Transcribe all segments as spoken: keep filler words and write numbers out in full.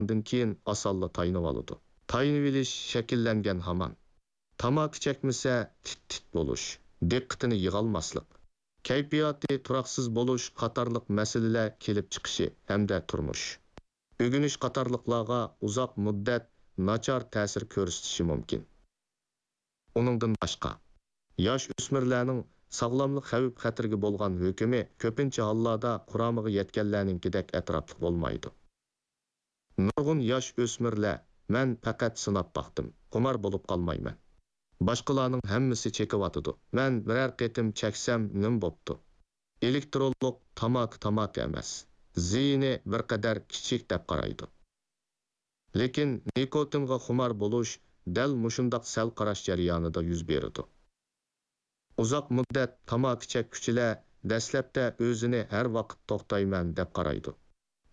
بولغاندىن كېيىن ئاسانلا تايىنىۋالىدۇ. تايىنىۋېلىش شەكىللەنگەن ھامان. تاماكا چەكمىسە تىت-تىت بولۇش، دىققىتىنى يىغالماسلىق، كەيپىياتى تۇراقسىز بولۇش قاتارلىق مەسىلىلەر كېلىپ چىقىشى ھەمدە تۇرمۇش، ئۆگىنىش قاتارلىقلارغا ئۇزاق مۇددەت ناچار تەسىر كۆرسىتىشى مۇمكىن. ئۇنىڭدىن باشقا، ياش ئۆسمۈرلەرنىڭ ساغلاملىق خەۋپ-خەتىرىگە بولغان ھۆكمى كۆپىنچە ھاللاردا قۇرامىغا يەتكەنلەرنىڭكىدەك ئەتراپلىق بولمايدۇ. نۇرغۇن ياش ئۆسمۈرلەر، «مەن پەقەت سىناپ باقتىم، خۇمار بولۇپ قالمايمەن. باشقىلارنىڭ ھەممىسى چېكىۋاتىدۇ، مەن بىرەر قېتىم چەكسەم نېمە بوپتۇ؟ ئېلېكتىرونلۇق تاماكا تاماكا ئەمەس، زىيىنى بىر قەدەر كىچىك» دەپ قارايدۇ. لېكىن نىكوتىنغا خۇمار بولۇش دەل مۇشۇنداق سەل قاراش جەريانىدا يۈز بېرىدۇ. ئۇزاق مۇددەت تاماكا چەككۈچىلەر دەسلەپتە ئۆزىنى ھەر ۋاقىت توختايمەن دەپ قارايدۇ.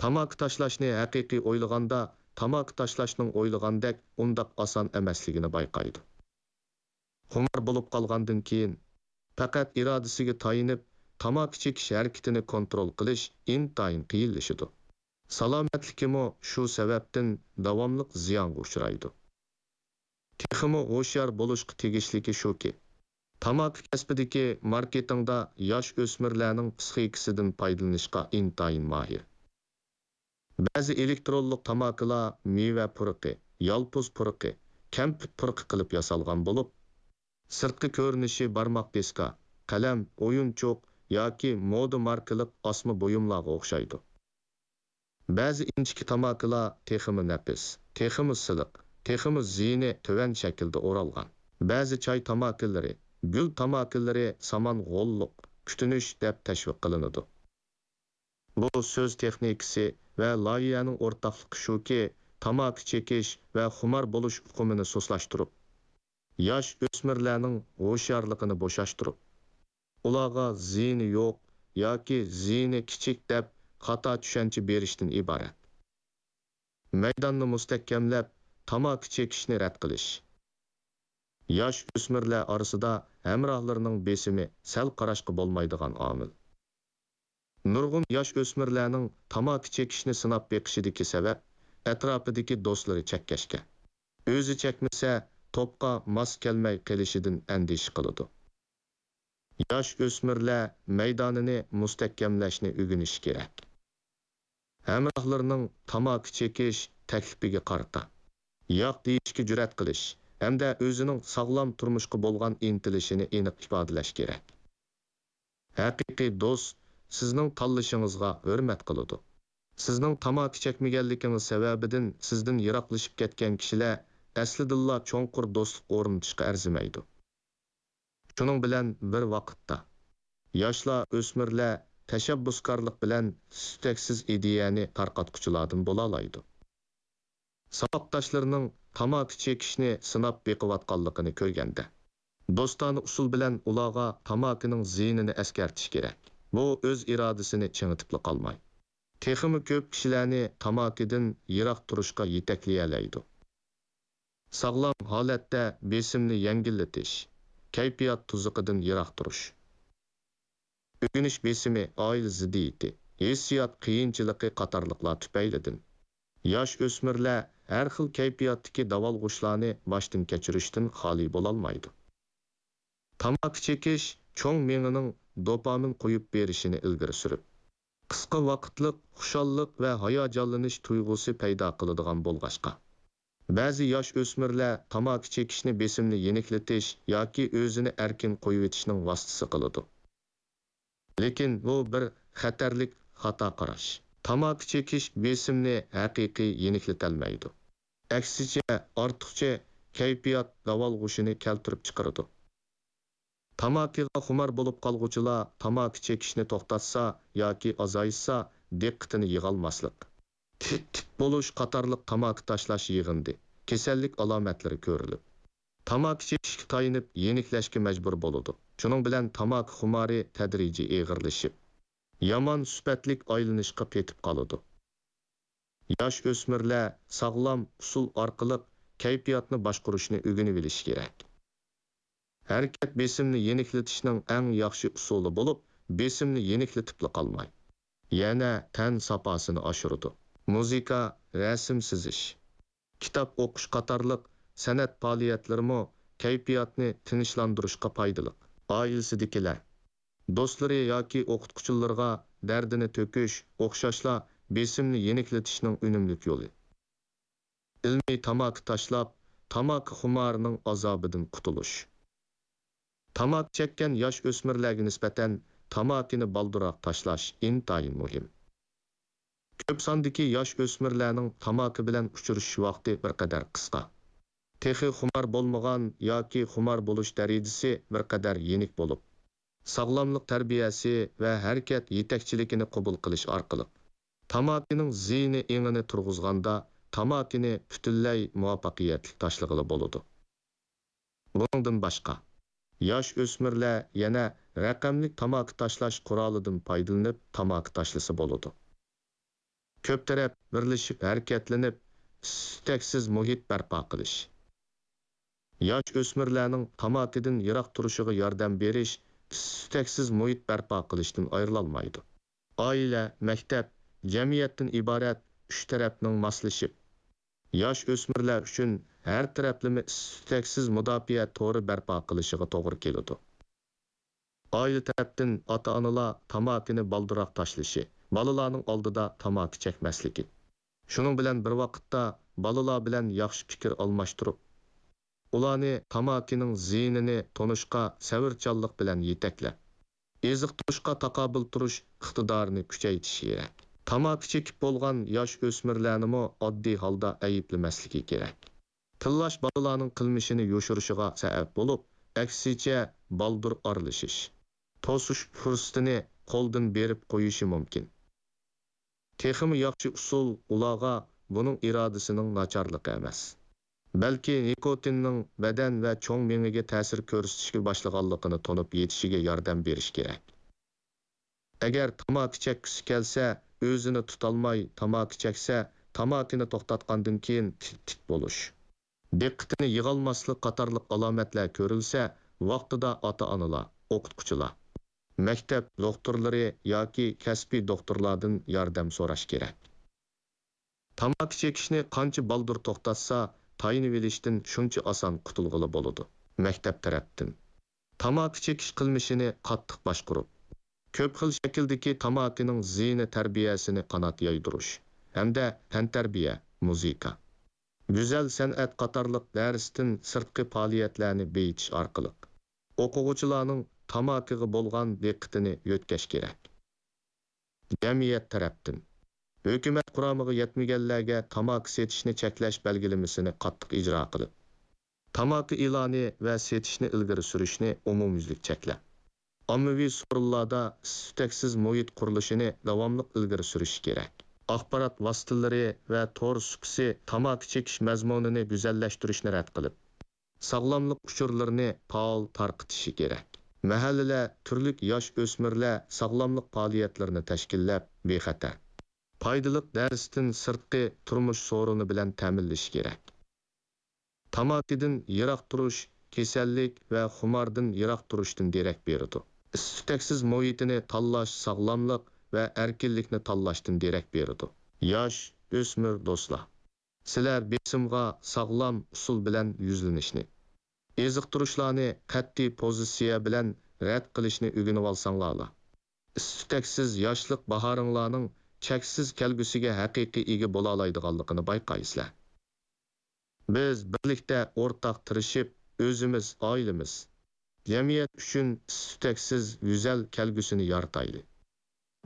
تاماكا تاشلاشنى ھەقىقىي ئويلىغاندا، تاماكا تاشلاشنىڭ ئويلىغاندەك ئۇنداق ئاسان ئەمەسلىكىنى بايقايدۇ. خۇمار بولۇپ قالغاندىن كېيىن، پەقەت ئىرادىسىگە تايىنىپ، تاماكا چېكىش ھەرىكىتىنى كونترول قىلىش ئىنتايىن قىيىنلىشىدۇ. سالامەتلىكىمۇ شۇ سەۋەبتىن داۋاملىق زىيانغا ئۇچرايدۇ. تېخىمۇ ھوشيار بولۇشقا تېگىشلىكى شۇكى، تاماكا كەسپىدىكى ماركېتىڭدا ياش ئۆسمۈرلەرنىڭ پىسخىكىسىدىن پايدىلىنىشقا ئىنتايىن ماھىر. بەزى ئېلېكتىرونلۇق تاماكىلار مېۋە پۇرىقى، يالپۇز پۇرىقى، كەمپۈت پۇرىقى قىلىپ ياسالغان بولۇپ، سىرتقى كۆرۈنۈشى بارماق دىسكا، قەلەم، ئويۇنچۇق ياكى مودا ماركىلىق ئاسما بۇيۇملارغا ئوخشايدۇ. بەزى ئىنچىكە تاماكىلار تېخىمۇ نەپىس، تېخىمۇ سىلىق، تېخىمۇ زىيىنى تۆۋەن شەكىلدە ئورالغان. بەزى چاي تاماكىلىرى، گۈل تاماكىلىرى سامان غوللۇق، كۈتۈنۈش دەپ تەشۋىق قىلىنىدۇ. بۇ سۆز تېخنىكىسى ۋە لايىھەنىڭ ئورتاقلىقى شۇكى، تاماكا چېكىش ۋە خۇمار بولۇش ئۇقۇمىنى سۇسلاشتۇرۇپ، ياش ئۆسمۈرلەرنىڭ ھوشيارلىقىنى بوشاشتۇرۇپ، ئۇلارغا زىيىنى يوق ياكى زىيىنى كىچىك دەپ خاتا چۈشەنچە بېرىشتىن ئىبارەت. مەيداننى مۇستەھكەملەپ، تاماكا چېكىشنى رەت قىلىش. ياش ئۆسمۈرلەر ئارىسىدا ھەمراھلىرىنىڭ بېسىمى سەل قاراشقا بولمايدىغان ئامىل. نۇرغۇن ياش ئۆسمۈرلەرنىڭ تاماكا چېكىشنى سىناپ بېقىشىدىكى سەۋەب، ئەتراپىدىكى دوستلىرى چەككەچكە، ئۆزى چەكمىسە، توپقا ماس كەلمەي قېلىشىدىن ئەندىشە قىلىدۇ. ياش ئۆسمۈرلەر مەيدانىنى مۇستەھكەملەشنى ئۆگىنىشى كېرەك. ھەمراھلىرىنىڭ تاماكا چېكىش تەكلىپىگە قارىتا ياق دېيىشكە جۈرئەت قىلىش ھەمدە ئۆزىنىڭ ساغلام تۇرمۇشقا بولغان ئىنتىلىشىنى ئېنىق ئىپادىلەش كېرەك. ھەقىقىي دوست سىزنىڭ تاللىشىڭىزغا ھۆرمەت قىلىدۇ. سىزنىڭ تاماكا چەكمىگەنلىكىڭىز سەۋەبىدىن سىزدىن يىراقلىشىپ كەتكەن كىشىلەر ئەسلىدىنلا چوڭقۇر دوستلۇق ئورنىتىشقا ئەرزىمەيدۇ. شۇنىڭ بىلەن بىر ۋاقىتتا، ياشلار، ئۆسمۈرلەر تەشەببۇسكارلىق بىلەن تۈتەكسىز ئىدىيەنى تارقاتقۇچىلاردىن بولالايدۇ. ساۋاقداشلىرىنىڭ تاماكا چېكىشنى سىناپ بېقىۋاتقانلىقىنى كۆرگەندە، دوستانە ئۇسۇل بىلەن ئۇلارغا تاماكىنىڭ زىيىنىنى ئەسكەرتىش كېرەك. بۇ ئۆز ئىرادىسىنى چىڭىتىپلا قالماي، تېخىمۇ كۆپ كىشىلەرنى تاماكىدىن يىراق تۇرۇشقا يېتەكلىيەلەيدۇ. ساغلام ھالەتتە بېسىمنى يەڭگىللىتىش، كەيپىيات تۇزىقىدىن يىراق تۇرۇش. ئۆگىنىش بېسىمى، ئائىلە زىددىيىتى، ھېسسىيات قىيىنچىلىقى قاتارلىقلار تۈپەيلىدىن ياش ئۆسمۈرلەر ھەر خىل كەيپىياتتىكى داۋالغۇشلارنى باشتىن كەچۈرۈشتىن خالىي بولالمايدۇ. تاماكا چېكىش چوڭ مېڭىنىڭ دوپامىن قويۇپ بېرىشىنى ئىلگىرى سۈرۈپ، قىسقا ۋاقىتلىق خۇشاللىق ۋە ھاياجانلىنىش تۇيغۇسى پەيدا قىلىدىغان بولغاچقا، بەزى ياش ئۆسمۈرلەر تاماكا چېكىشنى بېسىمنى يېنىكلىتىش ياكى ئۆزىنى ئەركىن قويۇۋېتىشنىڭ ۋاسىتىسى قىلىدۇ. لېكىن بۇ بىر خەتەرلىك خاتا قاراش. تاماكا چېكىش بېسىمنى ھەقىقىي يېنىكلىتەلمەيدۇ. ئەكسىچە، ئارتۇقچە كەيپىيات داۋالغۇشىنى كەلتۈرۈپ چىقىرىدۇ. تاماكىغا خۇمار بولۇپ قالغۇچىلار تاماكا چېكىشنى توختاتسا ياكى ئازايتسا، دىققىتىنى يىغالماسلىق، تىت-تىت بولۇش قاتارلىق تاماكا تاشلاش يىغىندى كېسەللىك ئالامەتلىرى كۆرۈلۈپ، تاماكا چېكىشكە تايىنىپ يېنىكلەشكە مەجبۇر بولىدۇ. شۇنىڭ بىلەن تاماكا خۇمارى تەدرىجىي ئېغىرلىشىپ، يامان سۈپەتلىك ئايلىنىشقا پېتىپ قالىدۇ. ياش ئۆسمۈرلەر ساغلام ئۇسۇل ئارقىلىق كەيپىياتنى باشقۇرۇشنى ئۆگىنىۋېلىشى كېرەك. ھەرىكەت بېسىمنى يېنىكلىتىشنىڭ ئەڭ ياخشى ئۇسۇلى بولۇپ، بېسىمنى يېنىكلىتىپلا قالماي، يەنە تەن ساپاسىنى ئاشۇرىدۇ. مۇزىكا، رەسىم سىزىش، كىتاب ئوقۇش قاتارلىق سەنئەت پائالىيەتلىرىمۇ كەيپىياتنى تىنچلاندۇرۇشقا پايدىلىق. ئائىلىسىدىكىلەر، دوستلىرى ياكى ئوقۇتقۇچىلىرىغا دەردىنى تۆكۈش ئوخشاشلا بېسىمنى يېنىكلىتىشنىڭ ئۈنۈملۈك يولى. ئىلمىي تاماكا تاشلاپ، تاماكا خۇمارىنىڭ ئازابىدىن قۇتۇلۇش. تاماكا چەككەن ياش ئۆسمۈرلەرگە نىسبەتەن تاماكىنى بالدۇرراق تاشلاش ئىنتايىن مۇھىم. كۆپ ساندىكى ياش ئۆسمۈرلەرنىڭ تاماكا بىلەن ئۇچرىشىش ۋاقتى بىر قەدەر قىسقا. تېخى خۇمار بولمىغان ياكى خۇمار بولۇش دەرىجىسى بىر قەدەر يېنىك بولۇپ، ساغلاملىق تەربىيەسى ۋە ھەرىكەت يېتەكچىلىكىنى قوبۇل قىلىش ئارقىلىق، تاماكىنىڭ زىيىنى ئېڭىنى تۇرغۇزغاندا، تاماكىنى پۈتۈنلەي مۇۋەپپەقىيەتلىك تاشلىغىلى بولىدۇ. بۇنىڭدىن باشقا، ياش ئۆسمۈرلەر يەنە رەقەملىك تاماكا تاشلاش قورالىدىن پايدىلىنىپ تاماكا تاشلىسا بولىدۇ. كۆپ تەرەپ بىرلىشىپ ھەرىكەتلىنىپ، ئىس-تۈتەكسىز مۇھىت بەرپا قىلىش. ياش ئۆسمۈرلەرنىڭ تاماكىدىن يىراق تۇرۇشىغا ياردەم بېرىش ئىس-تۈتەكسىز مۇھىت بەرپا قىلىشتىن ئايرىلالمايدۇ. ئائىلە، مەكتەپ، جەمئىيەتتىن ئىبارەت ئۈچ تەرەپنىڭ ماسلىشىپ، ياش ئۆسمۈرلەر ئۈچۈن ھەر تەرەپلىمە ئىس-تۈتەكسىز مۇداپىئە تورى بەرپا قىلىشىغا توغرا كېلىدۇ. ئائىلە تەرەپتىن ئاتا-ئانىلار تاماكىنى بالدۇرراق تاشلىشى، بالىلارنىڭ ئالدىدا تاماكا چەكمەسلىكى. شۇنىڭ بىلەن بىر ۋاقىتتا بالىلار بىلەن ياخشى پىكىر ئالماشتۇرۇپ، ئۇلارنى تاماكىنىڭ زىيىنىنى تونۇشقا سەۋرچانلىق بىلەن يېتەكلەپ، ئېزىقتۇرۇشقا تاقابىل تۇرۇش ئىقتىدارىنى كۈچەيتىش كېرەك. تاماكا چېكىپ بولغان ياش ئۆسمۈرلەرنىمۇ ئاددىي ھالدا ئەيىبلىمەسلىكى كېرەك. تىللاش بالىلارنىڭ قىلمىشىنى يوشۇرۇشىغا سەۋەب بولۇپ، ئەكسىچە بالدۇر ئارىلىشىش، توسۇش پۇرسىتىنى قولدىن بېرىپ قويۇشى مۇمكىن. تېخىمۇ ياخشى ئۇسۇل ئۇلارغا بۇنىڭ ئىرادىسىنىڭ ناچارلىقى ئەمەس، بەلكى نىكوتىننىڭ بەدەن ۋە چوڭ مېڭىگە تەسىر كۆرسىتىشكە باشلىغانلىقىنى تونۇپ يېتىشىگە ياردەم بېرىش كېرەك. ئەگەر تاماكا چەككۈسى كەلسە، ئۆزىنى تۇتالماي تاماكا چەكسە، تاماكىنى توختاتقاندىن كېيىن تىت-تىت بولۇش، دىققىتىنى يىغالماسلىق قاتارلىق ئالامەتلەر كۆرۈلسە، ۋاقتىدا ئاتا-ئانىلار، ئوقۇتقۇچىلار، مەكتەپ دوختۇرلىرى ياكى كەسپىي دوختۇرلاردىن ياردەم سوراش كېرەك. تاماكا چېكىشنى قانچە بالدۇر توختاتسا، تايىنىۋېلىشتىن شۇنچە ئاسان قۇتۇلغىلى بولىدۇ. مەكتەپ تەرەپتىن تاماكا چېكىش قىلمىشىنى قاتتىق باشقۇرۇپ، كۆپ خىل شەكىلدىكى تاماكىنىڭ زىيىنى تەربىيەسىنى قانات يايدۇرۇش ھەمدە تەنتەربىيە، مۇزىكا، گۈزەل سەنئەت قاتارلىق دەرستىن سىرتقى پائالىيەتلەرنى بېيىتىش ئارقىلىق، ئوقۇغۇچىلارنىڭ تاماكىغا بولغان دىققىتىنى يۆتكەش كېرەك. جەمئىيەت تەرەپتىن ھۆكۈمەت قۇرامىغا يەتمىگەنلەرگە تاماكا سېتىشنى چەكلەش بەلگىلىمىسىنى قاتتىق ئىجرا قىلىپ، تاماكا ئېلانى ۋە سېتىشنى ئىلگىرى سۈرۈشنى ئومۇميۈزلۈك چەكلەپ، ئاممىۋى سورۇنلاردا ئىس-تۈتەكسىز مۇھىت قۇرۇلۇشىنى داۋاملىق ئىلگىرى سۈرۈش كېرەك. ئاخبارات ۋاسىتىلىرى ۋە تور سۇپىسى تاماكا چېكىش مەزمۇنىنى گۈزەللەشتۈرۈشنى رەت قىلىپ، ساغلاملىق ئۇچۇرلىرىنى پائال تارقىتىشى كېرەك. مەھەللىلەر، تۈرلۈك ياش ئۆسمۈرلەر ساغلاملىق پائالىيەتلىرىنى تەشكىللەپ، بىخەتەر، پايدىلىق دەرستىن سىرتقى تۇرمۇش سورۇنى بىلەن تەمىنلىشى كېرەك. تاماكىدىن يىراق تۇرۇش كېسەللىك ۋە خۇماردىن يىراق تۇرۇشتىن دېرەك بېرىدۇ. ئىس-تۈتەكسىز مۇھىتىنى تاللاش ساغلاملىق ۋە ئەركىنلىكنى تاللاشتىن دېرەك بېرىدۇ. ياش ئۆسمۈر دوستلار، سىلەر بېسىمغا ساغلام ئۇسۇل بىلەن يۈزلىنىشنى، ئېزىقتۇرۇشلارنى قەتئىي پوزىتسىيە بىلەن رەت قىلىشنى ئۆگىنىۋالساڭلارلا، ئىس-تۈتەكسىز ياشلىق باھارىڭلارنىڭ چەكسىز كەلگۈسىگە ھەقىقىي ئىگە بولالايدىغانلىقىنى بايقايسىلەر. بىز بىرلىكتە ئورتاق تىرىشىپ، ئۆزىمىز، ئائىلىمىز، جەمئىيەت ئۈچۈن ئىس-تۈتەكسىز گۈزەل كەلگۈسىنى يارىتايلى.